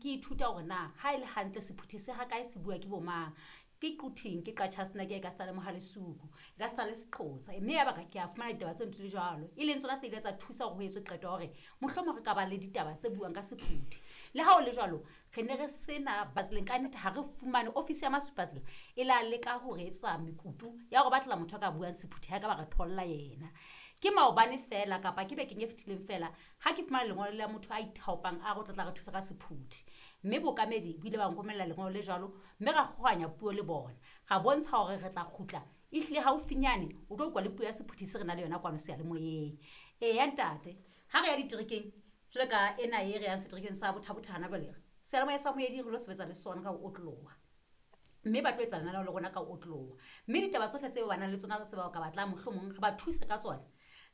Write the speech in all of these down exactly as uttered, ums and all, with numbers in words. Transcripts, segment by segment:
ke ithuta hore na ha e le hantle Sephuthi se ha kae, se bua ke bo mang. Ke Quthing, ke Qacha's Nek, e ka seta le Mohalesuku, e ka seta le Seqosa, mme ya baka ke a fumana ditaba tse ntho di jwalo, e leng tsona tse ile tsa thusa hore ho etswe qeto ya hore mohlomong re ka ba le ditaba tse buang ka Sephuthi. Le ha ho le jwalo, re ne re sena batseleng ka nnete, ha re fumane ofisi ya Masupatsela e la leka ho re etsa mekutu ya hore batlela motho a ka buang Sephuthi, ha e ka ba re tholla yena. Ke maobane fela kapa ke bekeng e fetileng fela ha ke fumana lengolo la motho a ithaopang a re o tla tla re thusa ka Sephuthi, mme bookamedi bo ile ba nromella lengolo le jwalo, mme ra kgohanya puo le bona, ra bontsha hore re tla kgutla ehlile haufinyane o tlo utlwa le puo ya Sephuthi se re na le yona kwano seyalemoyeng. Eya ntate, ha re ya diterekeng jwalo ka ena e re yang seterekeng sa Botha-Bothe hana jwale, seyalemoya sa Moedi re lo sebetsa le sona ka ho otloloha, mme ba tlo etsa lenaneo le rona ka ho otloloha, mme ditaba tsohle tse ba nang le tsona tse ba ka batlang mohlomong re ba thuse ka tsona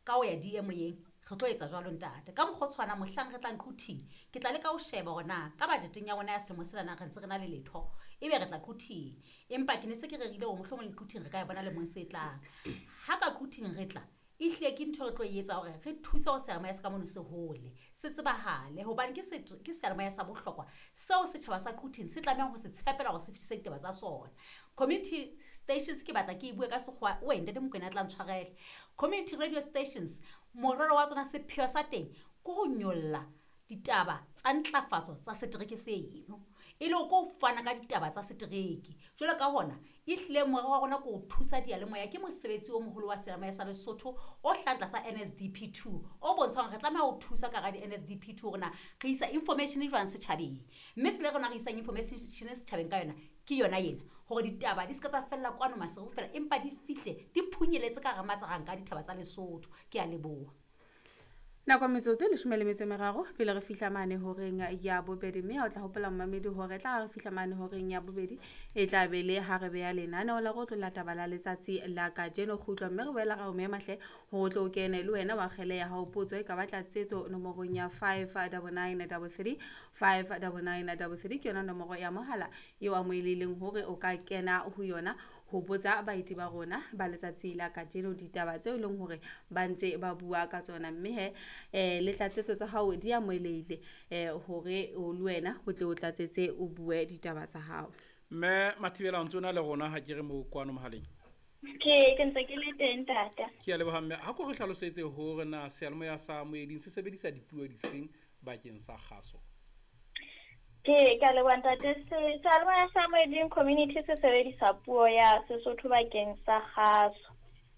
ka ho ya di-moyeng, re tlo etsa jwalo ntate. Ka mokgwa o tshwanang mohlang re tlang Quthing, ke tla leka ho sheba hore na ka budgeteng ya rona ya selemo sena na re ntse re na le letho, ebe re tla Quthing. Empa ke ne se ke rerile hore mohlomong le Quthing re ka e bona lemong se tlang. Ha ka Quthing re tla, ehlile ke ntho re tlo e etsa hore re thuse hore seyalemoya se ka mono se hole, se tsebahale, hobane ke se, ke seyalemoya sa bohlokwa seo setjhaba sa Quthing se tlamehang ho se tshepela hore se fetise ditaba tsa sona. Community stations ke batla ke e bue ka sekgowa, oe ntate Mokoena a tla ntshwarele. Community radio stations, morero wa tsona, sepheo sa teng ke ho nyolla ditaba tsa ntlafatso tsa setereke seno, e le ko fana ka ditaba tsa setereke. Jwalo ka hona, ehlile morero wa rona ke ho thusa diyalemoya, ke mosebetsi o moholo wa seyalemoya sa Lesotho o hlahang tlasa N S D P two, o bontshang hore re tlameha ho thusa ka hara di-N S D P two hore na re isa information jwang setjhabeng. Mme tsela e rona re isang information setjhabeng ka yona ke yona ena, hore ditaba di se ka tsa fella kwano Maseru fela, empa di fihle di phunyeletse ka hara Matsaranka a ditaba tsa Lesotho. Ke a leboha. Nako metsotso e leshome le metso e meraro pele re fihla mane horeng ya bobedi, mme ha o tla hopola momamedi hore tla re fihla mane horeng ya bobedi e tla be le ha re beha lenaneo la go tlola taba la letsatsi la kajeno kgutlo, mme re boela ra o mema hle hore o tlo o kene le wena wa kgele ya hao potso e ka batla tsetso nomorong ya five double nine double three, five double nine double three ke yona nomoro ya mohala eo amohelehileng hore o ka kena ho yona ho botsa baeti ba rona ba letsatsi la kajeno ditaba tseo e leng hore ba ntse ba bua ka tsona, mme he, eh, le tlatsetso tsa hao di amohelehile, eh, hore o le wena o tle o tlatsetse o bue ditaba tsa hao. Mme Mathibela, o ntse o na le rona ha ke re mo kwano mohaleng? Ke, ke ntse ke le teng tata. Ke a leboha mme. Ha ko re hlalosetse hore na seyalemoya sa Moeding se sebedisa dipuo difeng bakeng sa kgaso? Ke, ke a leboha ntate. Se-, seyalemoya sa Moeding Community se sebedisa puo ya Sesotho bakeng sa kgaso.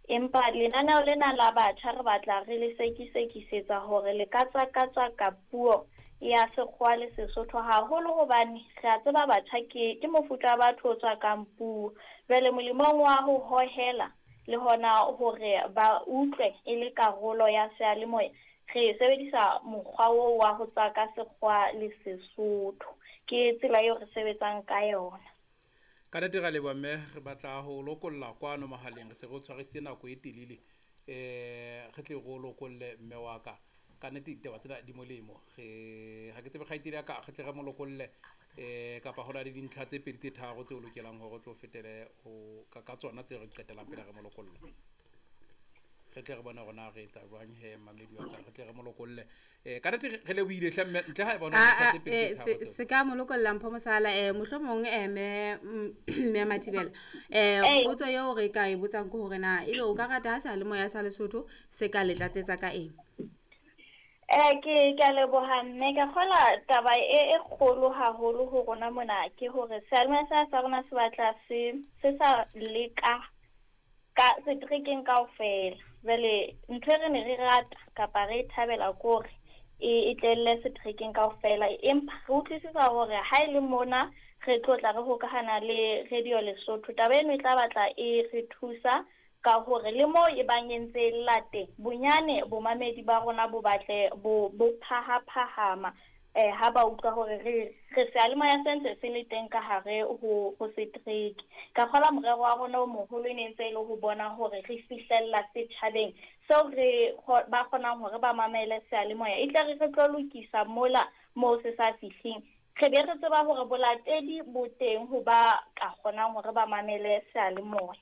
Empa lenaneo lena la batjha re batla re le sekisekisetsa hore le ka tswakatswaka puo ya Sekgowa le Sesotho haholo, hobane re a tseba batjha ke, ke mofuta wa batho o tswakang puo. Jwale molemong wa ho hohela le hona hore ba utlwe e le karolo ya seyalemoya, re sebedisa mokgwa oo wa ho tswaka Sekgowa le Sesotho. Ke tsela eo re sebetsang ka yona. Ka nnete ra leboha mme, re batla ho lokolla kwano mohaleng, re se re o tshwarisitse nako e telele, eh, re tle re o lokolle mme wa ka. Ka nnete ditaba tsena di molemo. Re, ha ke tsebe kgaitsedi ya ka, re tle re mo lokolle, eh, kapa ho na le dintlha tse pedi tse tharo tse o lokelang hore o tlo fetele ho, ka, ka tsona tse re qetellang pele re mo lokolla. Re tle re bone hore na re etsa jwang he, mamedi wa ka, re tle re mo lokolle. Eh, ka nnete re lebohile hle mme, ntle ha e bona Ah, dintlha ah, tse pedi eh, tse tharo se, tseo. se ka mo lokolla Mpho Mosala, eh, mohlomong, eh, mme, mm, mme Mathibela, eh, Ee. potso eo re ka e botsang ke hore na ebe o ka rata ha seyalemoya sa Lesotho se ka le tlatsetsa ka eng? Eh, ke, ke a leboha mme. Ke kgolwa taba e, e kgolo haholo ho rona mona ke hore seyalemoya sa, sa rona se batla se, se sa leka ka seterekeng kaofela. Jwale ntho e re ne re rata kapa re e thabela ke hore e, e tlelle seterekeng kaofela, empa re utlwisisa hore ha e le mona re tlo tla re hokahana le Radio Lesotho, taba eno e tla batla e re thusa ka hore le moo e bang e ntse e lla teng, bonyane bomamedi ba rona bo batle bo, bo phahaphahama, eh, ha ba utlwa hore re, re seyalemoya se ntse se le teng ka hare ho, ho setereke. Ka kgolwa morero wa rona o moholo e ne ntse e le ho bona hore re fihlella setjhabeng seo re kgo-, ba kgonang hore ba mamele seyalemoya. E tla re re tlo lokisa mola moo se sa fihleng, re be re tseba hore bolatedi bo teng ho ba ka kgonang hore ba mamele seyalemoya.